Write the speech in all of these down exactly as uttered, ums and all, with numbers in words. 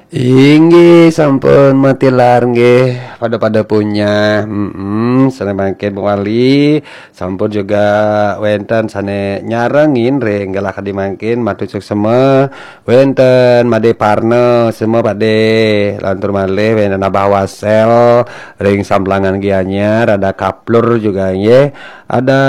Inggih, sampun matilar nggih, pada-pada punya. Mm-mm, sané mangkin Bu Wali, sampun juga wénten sané nyarengin ring galah kadi mangkin, matur suksma. Wénten Madé Parna, semua Padé. Lantur malih wénten Abah Wasel ring Samplangan Gianyar, ada Kaplur juga nggih. Ada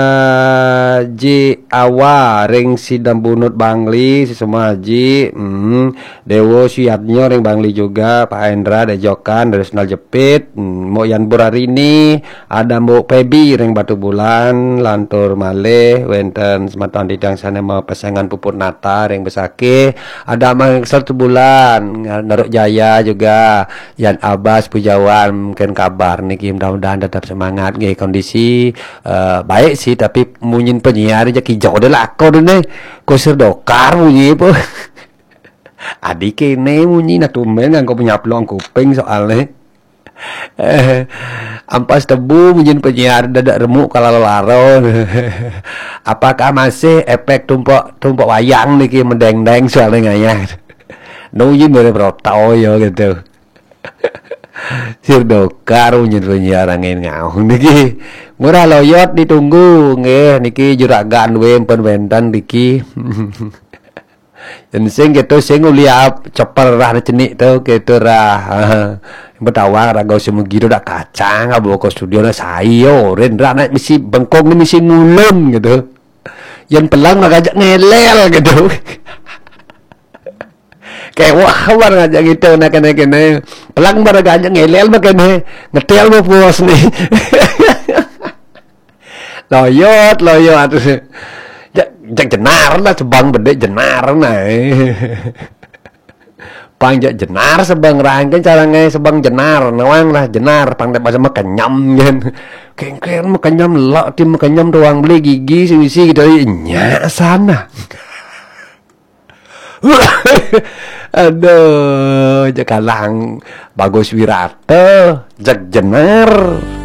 Ji Awa ring Sidembunut Bangli, sesama Haji. Hmm. Dewo Suyatnyo ring Bangli juga, Pak Hendra Dejokan dari Sendal Jepit. Hmm. Mbok Yan Burarini, ada Mbok Pebi ring Batubulan, lantur malih wénten semeton titiang sané mapesengan puput nata ring Besakih, ada Mang Setubulan, Naruk Jaya juga, Yan Abas Pujawan, mungkin kabar niki, mudah-mudahan tetap semangat nggih. Kondisi eh, baik sih, tapi munyin penyiar aja kijau deh lah aku deh nih. Kusir dokar munyi apa? Adi kéné munyi, nah tumben nganggo penyaplong kuping soalnya. Eh, ampas tebu munyin penyiar dadak remuk kalau laro. Apakah masih efek tumpuk tumpuk wayang niki mendeng-deng soalnya ngayah. Nunyi mirip roto ya gitu. Sir dokar munyin penyiar angin ngaung niki. Murah loyot ditunggu nggih niki juragan wénten wénten niki. Yen sing gitu sing uli ap ceper rah cenik tu gitu rah. Betawang raga sing megi tu dak kacang abo ke studio dah sai yo ren rah naik misi bengkong ni misi ngulun gitu. Yen pelang dah gajak ngelel gitu. Kewah bar ngajak gitu nak kene kene. Pelang bar gajak ngelel mak kene. Ngetel mau puas nih. Loyot loyot. Jak jak jenar lah sebang bedek jenar nah. Pang jak jenar sebang rangke cara ngai sebang jenar nawang lah jenar pang dek bahasa makenyam kan. Kengkeng makenyam lak ti makenyam doang beli gigi sing isi gitu nyak sana. Aduh, jekalang bagus wirata, jeg jenar.